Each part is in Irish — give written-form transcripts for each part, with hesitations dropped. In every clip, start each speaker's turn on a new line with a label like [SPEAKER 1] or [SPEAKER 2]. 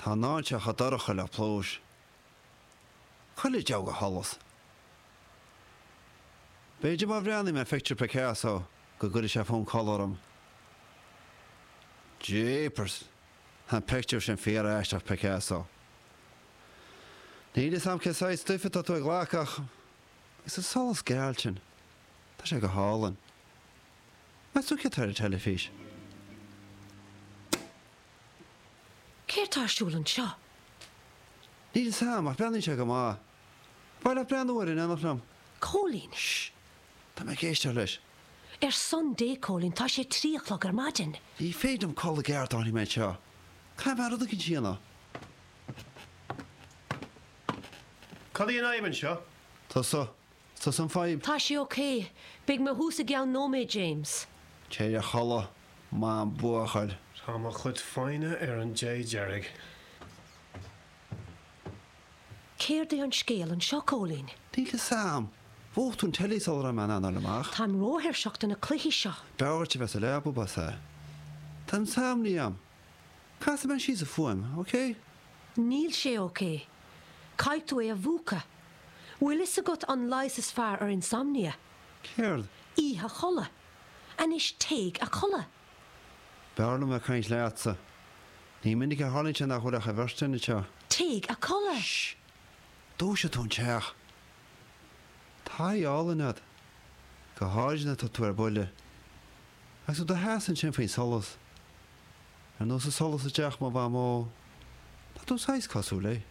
[SPEAKER 1] Tá an áit seo chomh dorcha le pluais. Chuile deabhadh de sholas. B'fhéidir má bhreathnaím ar phictiúr Picasso go gcuirfidh sé fonn codladh orm. Jeepers! Tá an pictiúr sin fíor-aisteach, Picasso. Níl fhios a'm cén saghas stuif atá tú ag glacadh ach agus an solas geal sin, tá sé go hálainn. Meas tú céard atá ar an teilifís?
[SPEAKER 2] Céard tá ar siúl anseo?
[SPEAKER 1] Níl fhios a'm, ach breathnaíonn sé go maith. Ar mhaith leat breathnú air in éineacht liom?
[SPEAKER 2] Cóilín!
[SPEAKER 1] Shh! Tá mé ag éisteacht leis.
[SPEAKER 2] Ar son Dé, Cóilín, tá sé 3 a chlog ar maidin.
[SPEAKER 1] Ní féidir liom codladh i gceart dá bhfanfaidh mé anseo. Caithfidh mé rud éicint a dhéanamh.
[SPEAKER 3] Cad í an fhadhb anseo?
[SPEAKER 1] Tusa. Tusa an fadhb.
[SPEAKER 2] Tá sé ok. Beidh mé thuas i gceann nóiméid, James.
[SPEAKER 1] Téigh a chodladh, maith an buachaill.
[SPEAKER 3] Tá mo chuid foighne ar an dé deiridh.
[SPEAKER 2] Céard é an scéal anseo, Cóilín?
[SPEAKER 1] Níl fhios a'm. Mhúch tú an teilí sula raibh mé in ann dul amach.
[SPEAKER 2] Táim róthuirseach do na cluichí seo.
[SPEAKER 1] B'fhearr duit a bheith sa leaba, ba ea. Tá insomnia a'm. Casfaidh mé síos an fuaim, ok?
[SPEAKER 2] Níl sé ok. Caithfidh tú é a mhúchadh. Bhfuil fhios agat an leigheas is fearr ar insomnia?
[SPEAKER 1] Céard?
[SPEAKER 2] Oíche a chodladh. Anois téigh a chodladh.
[SPEAKER 1] B'fhearr liom bheith ag caint leatsa. Ní minic a tharlaíonn sé nach bhfuil ach an bheirt againn anseo.
[SPEAKER 2] Téigh a chodladh!
[SPEAKER 1] Shh! Dúiseoidh tú an teach. Tá aghaidh álainn agat. Go háirid nuair atá tú ar buile. Agus tú i do sheasamh ansin faoin solas. Ar nós an solas i dteach mo mhamó. Tá tú saghas cosúil léi.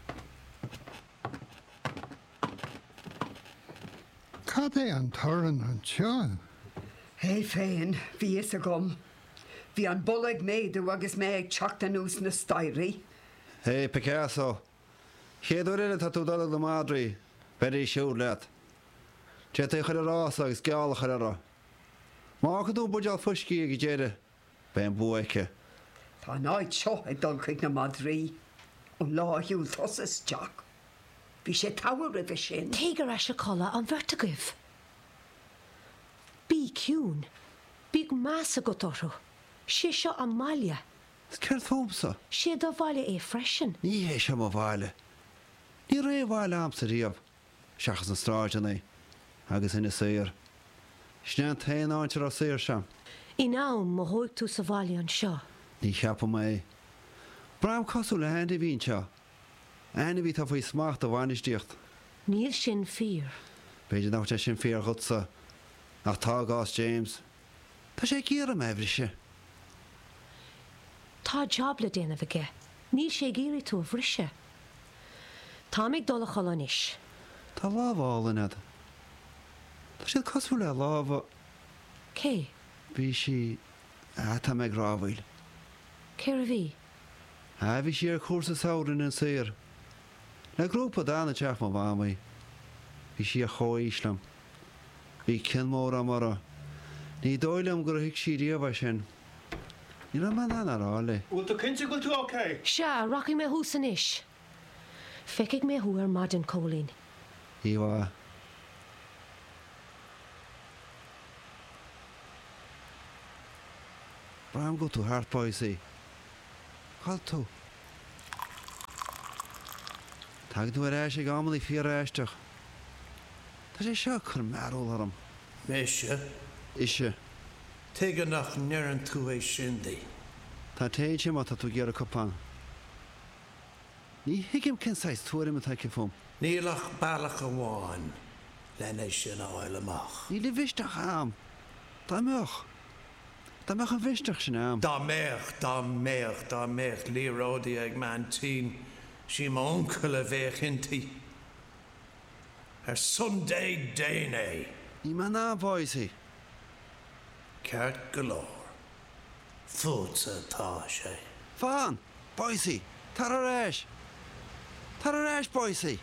[SPEAKER 4] Cad é an torann anseo?
[SPEAKER 5] É féin, bhí fhios agam. Bhí an boladh ag méadú agus mé ag teacht anuas na staighrí.
[SPEAKER 1] Hé, Picasso! Chéad uair eile atá tú ag dul ag na madraí, beiridís siúd leat. D'fhéadfaí a chur i rása agus geall a chur orthu. Má fhágann tú an buidéal fuiscí ag an deireadh, beidh an bua aici.
[SPEAKER 5] Tá an áit seo ag dul chuig na madraí. Ón lá a shiúil tusa isteach. Bhí sé togha roimhe sin.
[SPEAKER 2] Téigh ar ais a chodladh, an bheirt agaibh. Bí ciúin. Bíodh meas agat orthu. Sé seo a mbaile.
[SPEAKER 1] Is céard fúmsa?
[SPEAKER 2] Sé do bhaile é freisin.
[SPEAKER 1] Ní hé seo mo bhaile. Ní raibh aon bhaile a'msa riamh, seachas na sráideanna agus Inis Oírr. Sin é an t-aon áit a raibh saoirse a'm.
[SPEAKER 2] In am, mothóidh tú sa bhaile anseo.
[SPEAKER 1] Ní cheapaim é. Braithim cosúil le hainmhí anseo. Ainmhí atá faoi smacht a bhainistíocht.
[SPEAKER 2] Níl sin fíor.
[SPEAKER 1] B'fhéidir nach bhfuil sé sin fíor dhutsa, ach tá i gcás James. Tá sé ag iarraidh mé a bhriseadh.
[SPEAKER 2] Tá jab le déanamh aige. Níl sé ag iarraidh tú a bhriseadh. Táim ag dul a chodladh anois.
[SPEAKER 1] Tá lámha álainn agat. Tá siad cosúil le lámha.
[SPEAKER 2] Cé?
[SPEAKER 1] Bhí sí. Ah, tá mé ag rámhaíl.
[SPEAKER 2] Cé a bhí?
[SPEAKER 1] Ah, bhí sí ar chúrsa samhraidh in Inis Oírr. Le grúpa a d'fhan i dteach mo mhamaí. Bhí sí ar chomhaois liom. Bhí cion mór agam uirthi. Ní dóigh liom gur thuig sí riamh é sin. Ní raibh mé in ann a rá léi.
[SPEAKER 3] Bhfuil tú cinnte go bhfuil tú ok?
[SPEAKER 2] Sea, rachaidh mé thuas anois. Feicfidh mé thú ar maidin, Cóilín.
[SPEAKER 1] Oíche mhaith. Braithim go bhfuil tú thart, Boycie. Cá bhfuil tú? Tagann tú ar ais ag amannaí fíor-aisteach. Tá sé seo ag cur mearbhall orm.
[SPEAKER 6] Mise?
[SPEAKER 1] Ise.
[SPEAKER 6] Tuige nach ndeireann tú é sin di?
[SPEAKER 1] Tá tae ansin má tá tú ag iarraidh cupán. Ní thuigim cén saghas tuairim atá aici fúm.
[SPEAKER 6] Níl ach bealach amháin len é sin a fháil amach.
[SPEAKER 1] Níl an mhisneach a'm. Dá mbeadh. Dá mbeadh an mhisneach sin a'm.
[SPEAKER 6] Dá mbeadh, dá mbeadh, dá mbeadh liathróidí ag m'aintín, sí m'uncail a bheadh inti. Ar son Dé, déan é!
[SPEAKER 1] Níl mé in ann, Boycie.
[SPEAKER 6] Ceart go leor. Fútsa atá sé.
[SPEAKER 1] Fan! Boycie! Tar ar ais! Tar ar ais, Boycie!